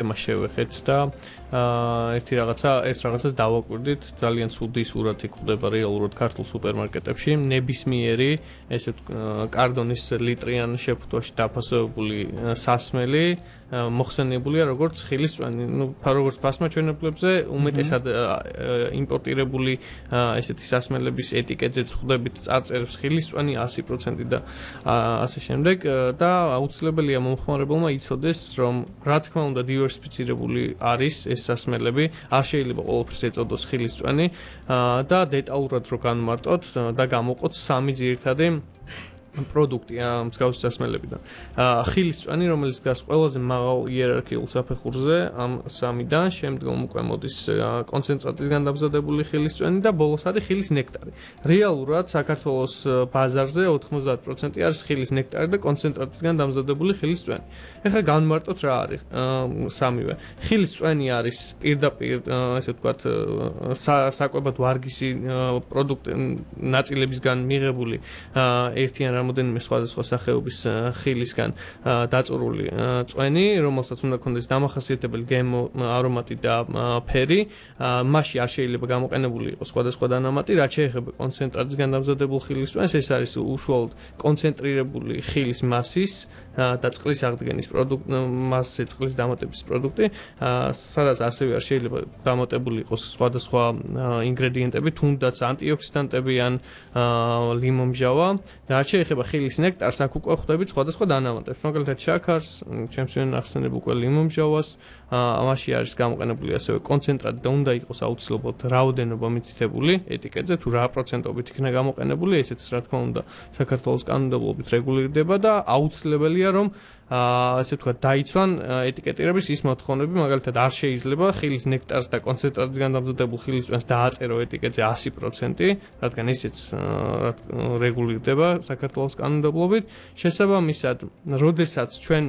იმას შევეხეთ და ერთ რაღაცას დავაკვირდით, ძალიან ცუდი სურათი გვხვდება რეალურად ქართულ სუპერმარკეტებში, ნებისმიერი ესე კარდონის ლიტრიან შეფუთვაში დაფასებული სასმელი მოხსენებულია როგორც ხილისწვენი, როგორც ფასმაჩვენებლებზე უმეტესად იმპორტირებული ესეთი სასმელების ეტიკეტზეც ხვდებით წარწერებს ხილისწვენი 100% და ასე შემდეგ და აუცილებელია მომხმარებელმა იცოდეს, რომ რა თქმა უნდა დივერსიფიცირებული არის ეს სასმელები, არ შეიძლება ყველაფერს ეწოდოს ხილისწვენი და დეტალურად რო განმარტოთ და გამოყოთ სამი ძირითადი პროდუქტი მსგავსი სასმელებიდან. ხილისწვენი, რომელიც დგას ყველაზე მაღალ იერარქიულ საფეხურზე ამ სამიდან, შემდგომ უკვე მოდის კონცენტრატისგან დამზადებული ხილისწვენი და ბოლოს არის ხილის ნექტარი. რეალურად საქართველოს ბაზარზე 90% არის ხილის ნექტარი და კონცენტრატისგან დამზადებული ხილისწვენი. ეხლა განმარტოთ რა არის სამივე. ხილისწვენი არის პირდაპირ ესე ვთქვათ საკვებად ვარგისი პროდუქტი ნაწილებისგან მიღებული ერთიან რამოდენიმე სხვადასხვა სახეობის ხილისგან დაწურული წვენი, რომელსაც უნდა ქონდეს დამახასიათებელი გემო, არომატი და ფერი. მასში არ შეიძლება გამოყენებული იყოს სხვადასხვა დანამატი, რაც შეეხება კონცენტრატისგან დამზადებულ ხილის წვენს, ეს არის უშუალოდ კონცენტრირებული ხილის მასის და წყლის აღდგენის პროდუქტი, მასზე წყლის დამატების პროდუქტი, სადაც ასევე არ შეიძლება დამატებული იყოს სხვადასხვა ინგრედიენტები, თუნდაც ანტიოქსიდანტები ან ლიმონმჟავა. რაც შეეხება ხილის ნექტარს, აქ უკვე ხვდებით სხვადასხვა დანამატებს, მაგალითად შაქარს, ჩემს ვინ ახსენებ უკვე ლიმონმჟავას, ამაში არის გამოყენებული ასევე კონცენტრატი და უნდა იყოს აუცილებლად რაოდენობა მითითებული ეტიკეტზე, თუ რა პროცენტობით იქნება გამოყენებული, ესეც რა თქმა უნდა საქართველოს კანონმდებლობით რეგულირდება და აუცილებელია რომ ასე ვთქვათ დაიცვან ეტიკეტირების ის მოთხოვნები, მაგალითად არ შეიძლება ხილის ნექტარს და კონცენტრატისგან დამზადებულ ხილის წვენს დააწერო ეტიკეტზე 100%, რადგან ისიც რეგულირდება საქართველოს კანონმდებლობით. შესაბამისად, როდესაც ჩვენ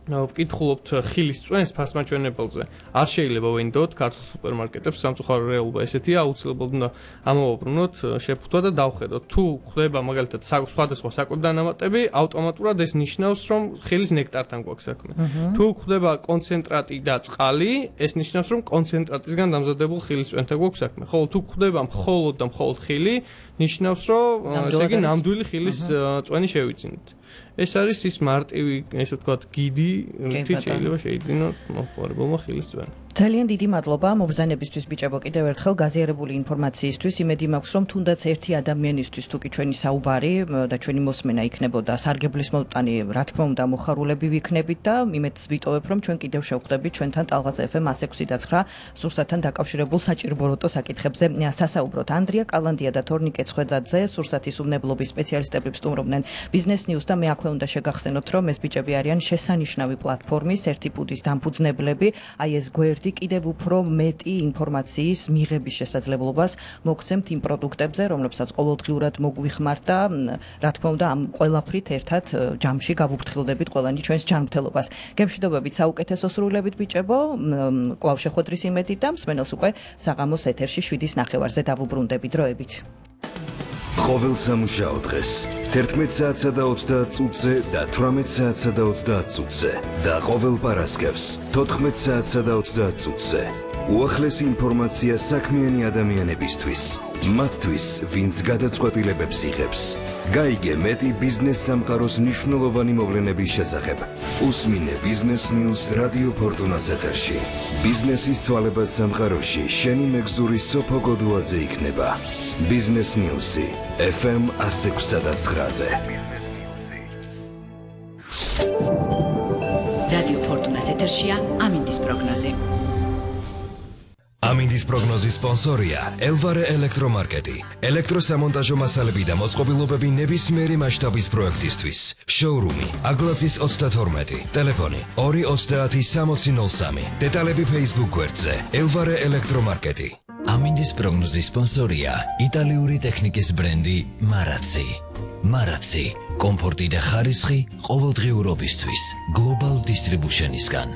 ვკითხულობთ ხილის წვენს ფასმაჩვენებელზე, არ შეიძლება ვენდოთ ქართულ სუპერმარკეტებს, სამწუხარო რეალობა ესეთია, აუცილებლად უნდა ამოვაბრუნოთ შეფუთვა და დავხედოთ. თუ გვხვდება მაგალითად სხვადასხვა საკვებ დანამატები, ავტომატურად ეს ნიშნავს, რომ ხილის ნექტართან გვაქვს საქმე. თუ გვხვდება კონცენტრატი და წყალი, ეს ნიშნავს, რომ კონცენტრატისგან დამზადებულ ხილის წვენთან გვაქვს საქმე. ხოლო თუ გვხვდება მხოლოდ და მხოლოდ ხილი, ნიშნავს, რომ ესე იგი ნამდვილი ხილის წვენი შევიძინეთ. ეს არის ის მარტივი, ესე ვთქვათ, გიდი, რითიც შეიძლება შეიძინოთ მომხმარებელმა ხილის წვენი. ძალიან დიდი მადლობა მობრძანებისთვის ბიჭებო, კიდევ ერთხელ გაზიარებული ინფორმაციისთვის. იმედი მაქვს, რომ თუნდაც ერთი ადამიანისთვის თუ კი ჩვენი საუბარი და ჩვენი მოსმენა იქნებოდა სარგებლის მოტანი, რა თქმა უნდა, მოხარულები ვიქნებით და იმედს ვიტოვებ, რომ ჩვენ კიდევ შევხვდებით ჩვენთან ტალღაც FM 106.9 სურსათთან დაკავშირებულ საჭირობროტო საკითხებზე სასაუბროთ. ანდრია კალანდია და თორნიკე ცხედაძე სურსათის უმნებლობის სპეციალისტები ვსტუმრობდნენ Business News და მე აქვე უნდა შეგახსენოთ, რომ ეს ბიჭები არიან შესანიშნავი პლატფორმის ერთი პუდის დამფუძნებლები, აი ეს გვერდი კიდევ უფრო მეტი ინფორმაციის მიღების შესაძლებლობას მოგცემთ იმ პროდუქტებზე, რომლებსაც ყოველდღიურად მოგვიხმართ და რა თქმა უნდა ამ ყველაფრით ერთად ჯამში გავუფრთხილდებით ყველანი ჩვენს ჯანმრთელობას. გემშვიდობებით, საუკეთესო სრულებით ბიჭებო, კვლავ შეხვედრის იმედით და მსმენელს უკვე საღამოს ეთერში 7:09 დავუბრუნდები დროებით. ყოველ სამუშაო დღეს 11 საათსა და 30 წუთზე და 18 საათსა და 30 წუთზე და ყოველ პარასკევს 14 საათსა და 30 წუთზე უახლესი ინფორმაცია საქმიანი ადამიანებისთვის, მათთვის, ვინც გადაწყვეტილებებს იღებს. გაიგე მეტი ბიზნეს სამყაროს მნიშვნელოვანი მოვლენების შესახებ. უსმინე Business News რადიო ფორტუნას ეთერში. ბიზნესის ცვალებად სამყაროში შენი მეგზური სოფო გოდუაძე იქნება. Business News-ი FM 106.9-ზე. რადიო ფორტუნას ეთერშია ამინდის პროგნოზი. ამინდის პროგნოზის სპონსორია ელვარე ელექტრომარკეტი. ელექტროსამონტაჟო მასალები და მოწყობილობები ნებისმიერი მასშტაბის პროექტისთვის. შოურუმი აგლაცის 32, ტელეფონი 230-6003. დეტალები Facebook გვერდზე ელვარე ელექტრომარკეტი. ამინდის პროგნოზის სპონსორია იტალიური ტექნიკის ბრენდი მარაცი. მარაცი, კომფორტი და ხარისხი ყოველდღიურობისთვის. Global Distribution-ისგან.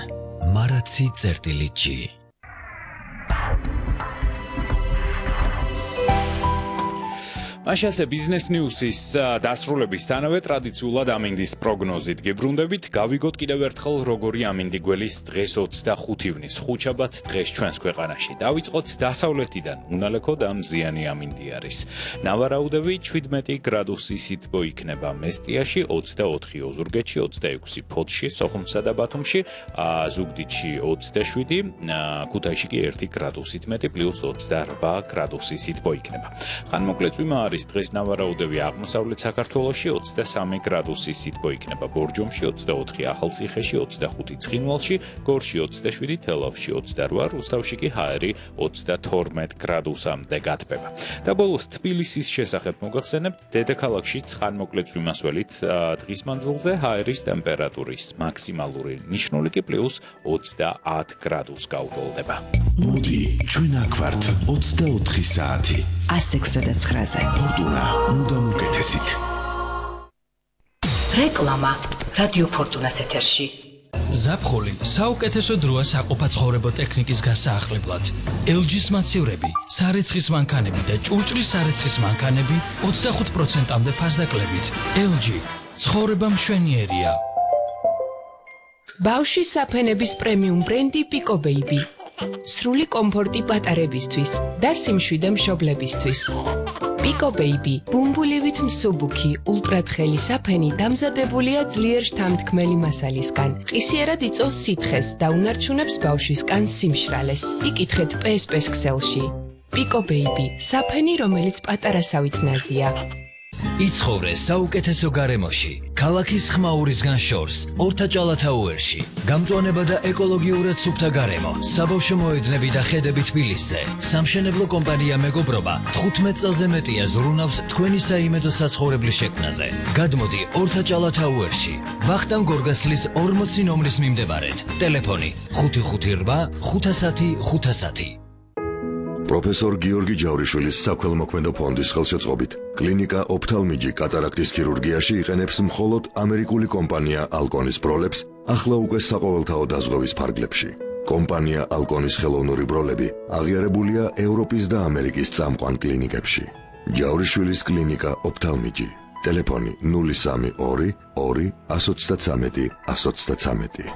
maracsi.gi მაშასე ბიზნეს ნიუსის დასრულების თანავე ტრადიციულად ამინდის პროგნოზით გებრუნდებით. გავიგოთ კიდევ ერთხელ როგორი ამინდი გველის დღეს 25 ივნის ხუთშაბათ დღეს ჩვენს ქვეყანაში. დავიწყოთ დასავლეთიდან. უნალექო და მზიანი ამინდი არის. ნავარაუდები 17 გრადუსი სითბო იქნება მესტიაში, 24 ოზურგეთში, 26 ფოთში, სოხუმსა და ბათუმში, ზუგდიდში 27, ქუთაისში კი 1 გრადუსით მეტი პლუს 28 გრადუსი სითბო იქნება. ხანმოკლე წვიმა არის დღეს ნავარაუდები აღმოსავლეთ საქართველოში 23 გრადუსი სითბო იქნება ბორჯომში 24 ახალციხეში 25 ცხინვალში გორში 27 თელავში 28 რუსთავში კი ჰაერი 32 გრადუსამდე გათბება და ბოლოს თბილისის შესახებ მოგახსენებთ დედაქალაქშიც ხანმოკლე წვიმასველით დღის მანძილზე ჰაერის ტემპერატურის მაქსიმალური ნიშნული კი პლუს 30 გრადუსს გაუტოლდება. მოდი ჩვენ აქ ვართ 24 საათი 106.9-ზე. ფორტუნა მუდამ უკეთესით. რეკლამა რადიო ფორტუნას ეთერში. ზაფხული საუკეთესო დროა საყოფაცხოვრებო ტექნიკის გასაახლებლად. LG-ს მაცევრები, სარეცხის მანქანები და ჭურჭლის სარეცხის მანქანები 25%-მდე ფასდაკლებით. LG ცხოვრება მშვენიერია. ბავშვის საფენების პრემიუმ ბრენდი Pico Baby. სრული კომფორტი პატარებისთვის და სიმშვიდე მშობლებისთვის. Pico Baby, ბუმბულივით მსუბუქი, ულტრათხელი საფენი დამზადებულია ძლიერ შთამთქმელი მასალისგან. ყისიერად იწვევს სითხეს და უნარჩუნებს ბავშვის კანს სიმშრალეს. იკითხეთ PSP-ს ქსელში. Pico Baby, საფენი, რომელიც პატარასავით ნაზია. იცხოვრე საუკეთესო გარემოში, ქალაქის ხმაურისგან შორს, ორთაჭალათაუერში. გამწვანება და ეკოლოგიურად სუფთა გარემო, საბავშვო მოედნები და ხედები თბილისზე. სამშენებლო კომპანია მეგობრობა 15 წელზე მეტია ზრუნავს თქვენი საიმედო საცხოვრებლის შექმნაზე. გადმოდი ორთაჭალათაუერში, ვახტანგ გორგასლის 40 ნომრის მიმდებარედ. ტელეფონი 558 510 510. პროფესორ გიორგი ჯავრიშვილის საქველმოქმედო ფონდის ხელშეწყობით კლინიკა ოფთალმიჯი კატარაქტის ქირურგიაში იყენებს მხოლოდ ამერიკული კომპანია ალკონის ბროლებს ახლა უკვე საყოველთაო დაზღვევის ფარგლებში. კომპანია ალკონის ხელოვნური ბროლები აღიარებულია ევროპის და ამერიკის წამყვან კლინიკებში. ჯავრიშვილის კლინიკა ოფთალმიჯი. ტელეფონი 032 2 133 133.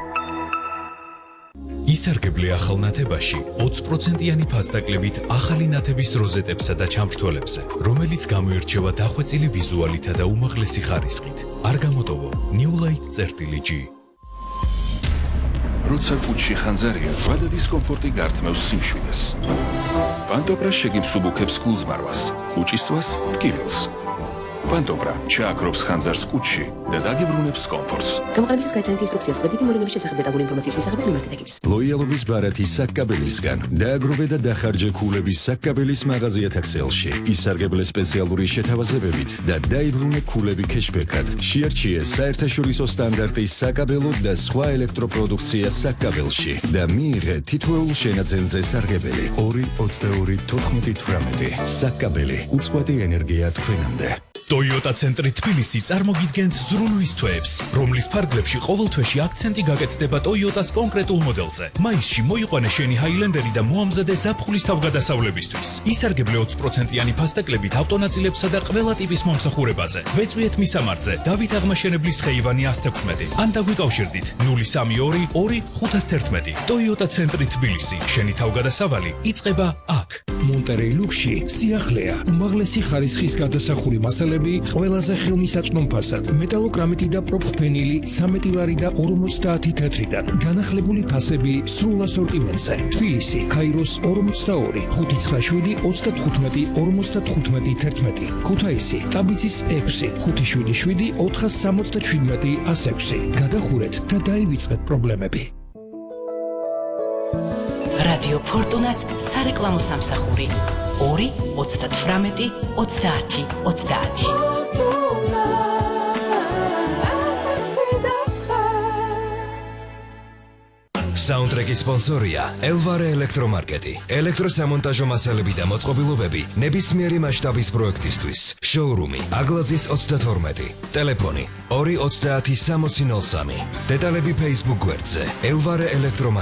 ისარგებლე ახალ ნათებაში 20%-იანი ფასდაკლებით ახალი ნათების როზეტებსა და ჩამრთველებზე, რომელიც გამოირჩევა დახვეწილი ვიზუალითა და უმაღლესი ხარისხით. არ გამოტოვო Newlight.G. როცა კუჩში ხანძარია, ზვადა დისკომფორტი გართმევს სიმშვიდეს. პანტოპრა შეგიმსუბუქებს გულზმარვას, კუჩისწვას ტკივილს. პანტოპრა ჩააქრობს ხანძარს კუჩში და დაგიბრუნებს კომფორტს. გამოყენებისას გაიცანით ინსტრუქციას კვედითი მოვლენების შესახებ დეტალური ინფორმაციის მისაღებად მიმართეთ ეკიპს. ლოიალობის ბარათი საkkabelისგან დააგროვე და დახარჯე ქულების საkkabelის მაღაზიათა ქსელში. ისარგებლე სპეციალური შეთავაზებებით და დაიბრუნე ქულები кэშბექად. შეარჩიე საერთაშორისო სტანდარტის საkkabelo და სხვა ელექტროპროდუქცია საkkabelში და მიიღე თითოეულ შენაძენზე სარგებელი 2-22-14-18. საkkabeli უწყვეტი ენერგია თქვენამდე. Toyota ცენტრი თბილისი წარმოგიდგენთ ზრუნვის თვეებს, რომლის ფარგლებში ყოველ თვეში აქცენტი გაკეთდება Toyota-ს კონკრეტულ მოდელზე. მაისში მოიყვანე შენი Highlander-ი და მოამზადე ზაფხულის თავგადასავლებისთვის. ისარგებლე 20%-იანი ფასდაკლებით ავტონაწილებსა და ყველა ტიპის მომსახურებაზე. ვეწვიეთ მისამართზე, დავით აღმაშენებლის ხეივანი 116. ან დაგვიკავშირდით 032 2 511. Toyota ცენტრი თბილისი, შენი თავგადასავალი იწყება აქ. მონტერეი ლუქსში სიახლეა, უმაღლესი ხარისხის გადასახური მასალები ყველაზე ხელმისაწვდომ ფასად, მეტალოკრამიტი და პროფენილი 13 ლარი და 50 თეთრიდან. განახლებული ფასები სრულ ასორტიმენტზე. თბილისი, ქაიროს 42, 597 35 55 11. ქუთაისი, ტაბიცის 6, 577 477 106. გადახურეთ და დაივიწყეთ პრობლემები. რადიო ფორტუნას სარეკლამო სამსახური 2-38-30-30. საუნდტრეკის სპონსორია ელვარე ელექტრომარკეტი. ელექტროსამონტაჟო მასალები და მოწყობილობები ნებისმიერი მასშტაბის პროექტისთვის. შოურუმი აგლაძის 32. ტელეფონი 2 30 60 03. დეტალები Facebook გვერდზე ელვარე ელექტრომარკეტი.